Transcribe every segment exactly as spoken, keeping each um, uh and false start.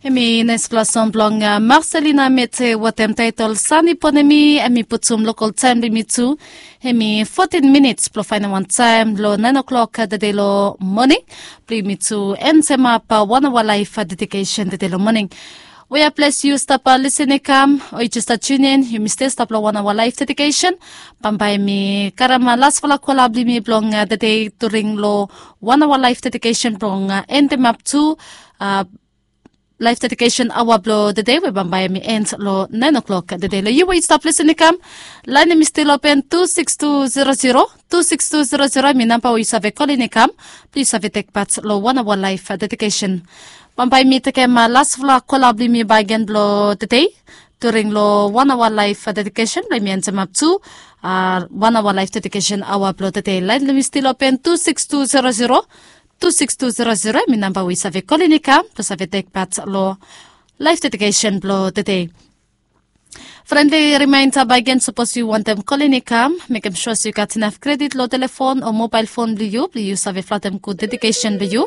Hemi naispela song blong Marcelina Mete wetem taitol Sani Ponemi. Hemi putum lokal taim blong yumi tu. Hemi fotin minits blong faindaun wan taim long nain o'klok tede long moning blong yumi tu entemap wan awa laif dedikesen tede long moning. We a ples yu stap lisin i kam o yu jes stap tunin, yumi stil stap long wan awa laif dedikesen. Bambae mi karim lasfala kola blong yumi blong tede during long wan awa laif dedikesen blong entemap tu laif dedikesen aoa blong tede we bambae mi en long nain o'klok tede. Long yu we yu stap lisin i kam, lain em i stil open tu siks tu zero zero, tu siks tu zero zero em i namba we yu save kolin i kam blong yu save tekpat long wan awa laif dedikesen. Bambae mi tekem lasfala kola blong yumi baegen blong tede during long wan awa laif dedikesen blong yumi entemap tu wan awa laif dedikesen aoa blong tede. Lain blong yumi stil open tu siks tu zero zero, tu siks tu zero zero em i namba we yu save kolin i kam blong save tekpat long laif dedikesen blong tede. Frendli rimainda baegen, sapos yu wantem kolin i kam, mekem sua se yu gat inaf kredit long telefon o mobael fon blong yu blong yu save flatem gud dedikesen blong yu.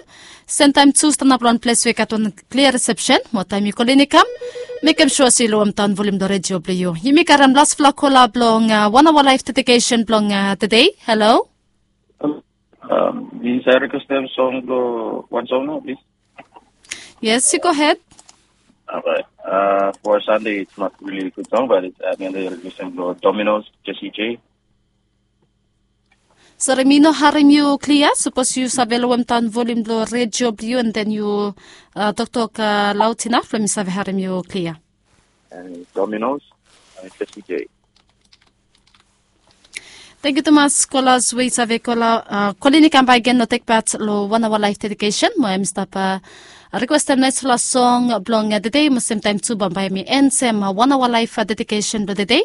Sem taim tu stanap long wan ples we i gat wan klia risepsen mo taim yu kolin i kam, mekem sua se yu lowem daon volim long redio blong yu. Yumi karim lasfala kola blong wan awa laif dedikesen blong tede. Halo. Plis, ai rikwestem song blong wan song nao, plis. Yes, yu gohed. Orait. For Sunday, it's not really a good song, but it's at the end of the requesting for Dominoes, Jesse J. Sori, mi no harim yu klia. Sapos yu save lowem daon volim blong redio blong yu, and then yu toktok laut inaf blong mi save harim yu klia. Dominoes, Jesse J. Tangkiu tumas kolas we i save kola, kolin i kam baegen long tekpat long wan awa laif dedikesen mo em i stap rikwestem naispela song blong tede mo semtaim tu bambae mi entem wan awa laif dedikesen blong tede.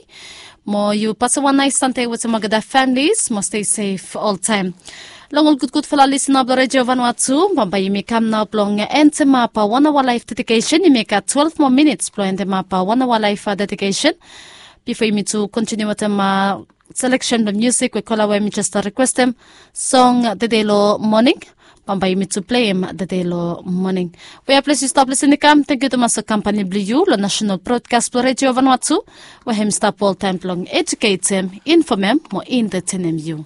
Mo yu pasem wan nais sande wetem olgeta familis mo stei sef oltaim. Long ol gudgudfala lisina blong redio vanua tu, bambae yumi kam nao blong entemap wan awa laif dedikesen. Yumi gat twelve moa minits blong entemap wan awa laif dedikesen. Bifo yumi tu kontiniu wetem seleksen blong musik we kola we mi jes rikwestem, song tede long moning. Bambae yumi tu pleim tede long moning. We a ples yu stap lisin i kam, tangkiu tumas long kampani blong yu long nasenal brodkas blong redio vanua tu, we hem i stap oltaim blong ejuketem, infomem mo entetenem yu.